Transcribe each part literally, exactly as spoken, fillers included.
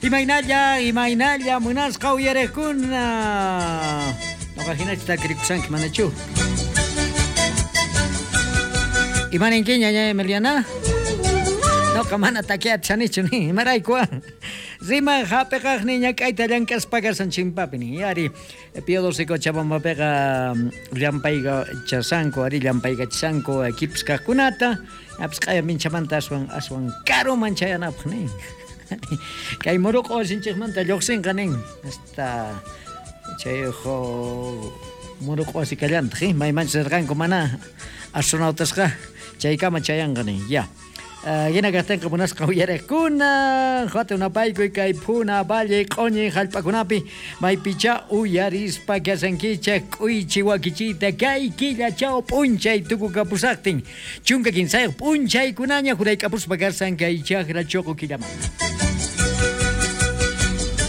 Imaynalla, imaynalla munasqa uyariqkuna. Noqa hinachu takirikushanki manachu? Imaninki ñaña Emiliana? Noqa mana takiachanichu ni imarayku. Rima hapiqaqni ñak'ayta llank'aspa kasan chimpapi ni ari Pío doce Cochabambapiqa llampayqa chasanku ari llampaykachishanku equipos kaqkunata apis q'aya minchamanta aswan aswan karuman chayanapaq nin. Kay muruq'u wasinchikmanta lluqsinqa nin hasta chay muruq'u wasi kallantaq maymanchus rirqanku mana astronautasqa chaykama chayanqa nin ya. Hina kaqtinqa munasqa uyariqkuna hatun napaykuy kay Puna Valle q'uñi hallp'akunapi maypicha uyarispa kasankichik k'uychi wakichiyta kay killachaw p'unchay tukukapusaqtin chunka kinsayuq p'unchaykunaña jurayk'apuspa kasan kay chakra chuqu killamanta.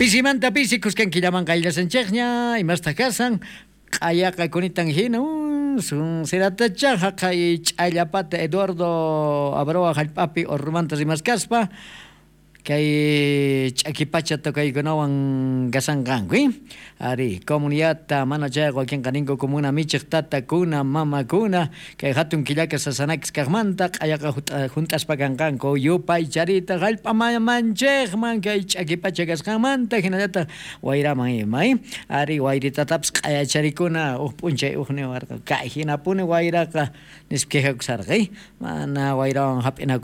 Pisimanta pisi kuskan killaman qayllasanchikña imastaq kasan q'ayaqa kunitan hina sun siratacha haqay ch'allapata Eduardo Abroa hallp'api urmanta rimaskaspa kay ch'akipacha tocaykunawan kasanqanku ari comunidadta mana chayqa wakinqa ninku comuna michiq tatakuna mamakuna kay hatun killaka sasanakis kaqmanta q'ayaqa hunt'aspa kanqanku yupaycharita hallp'a mamanchikman kay ch'akipacha kasqanmanta hinallataq wayraman ima ari wayritatapis q'ayacharikuna huk p'unchay huk niwarqa kay hinapuni wayraqa nispa quejakusarqa mana wayrawan hap'inaku.